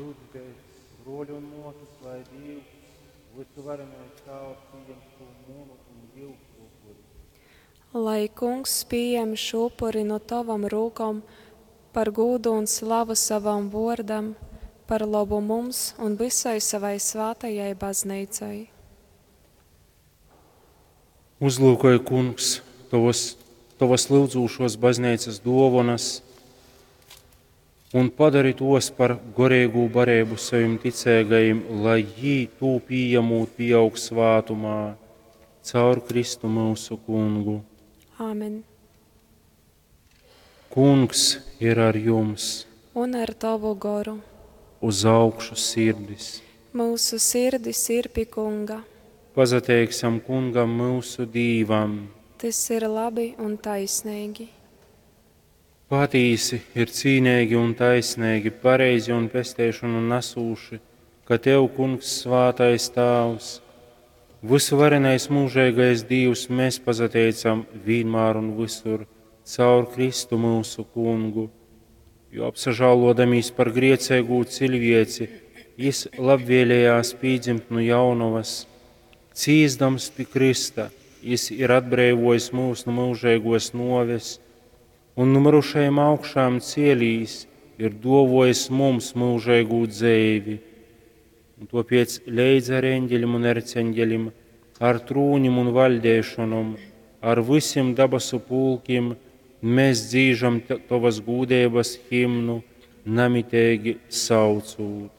Lyudzitēs, bruoļi un muosys, lai Dīvs, vysuvarenais Tāvs, pījem šū munu un jiusu upuri. Lai Kungs pījem šū upuri nu tovom rūkom par gūdu un slavu sovam vuordam, par lobu mums un vysai sovai svātajai Bazneicai. Uzlyukoj, Kungs, tovas, tovas lyudzūšuos bazneicas duovonas un padori tuos par goreigū bareibu sovim ticeigajim, lai jī, tū pījamūt, pīaug svātumā. Caur Kristu myusu Kungu. Āmen. Kungs ir ar jums! Un ar tovu goru. Uz augšu sirdis! Myusu sirdis ir pi Kunga. Pasateiksim Kungam myusu Dīvam! Tys ir labi un taisneigi. Patīsi, ir cīneigi un taisneigi, pareizi un pesteišonu nasūši, ka Tev, Kungs, svātais Tāvs, vysuvarenais myužeigais Dīvs, mēs pasateicam vīnmār un vysur caur Kristu myusu Kungu, jo apsažālōdamīs par grieceigū ciļvieci, Jis labvēlējās pīdzimt nu jaunovas, cīsdams pi krysta, Jis ir atbreivojis myus nu myužeigōs nōves un nu myrušajim augšām cielīs, ir duovojis mums myužeigū dzeivi. Un tuopiec leidz ar eņģeļim un erceņģeļim, ar trūnim un vaļdeišonom, ar vysim dabasu pulkim, mēs dzīžam tovas gūdeibas himnu, namiteigi saucūt.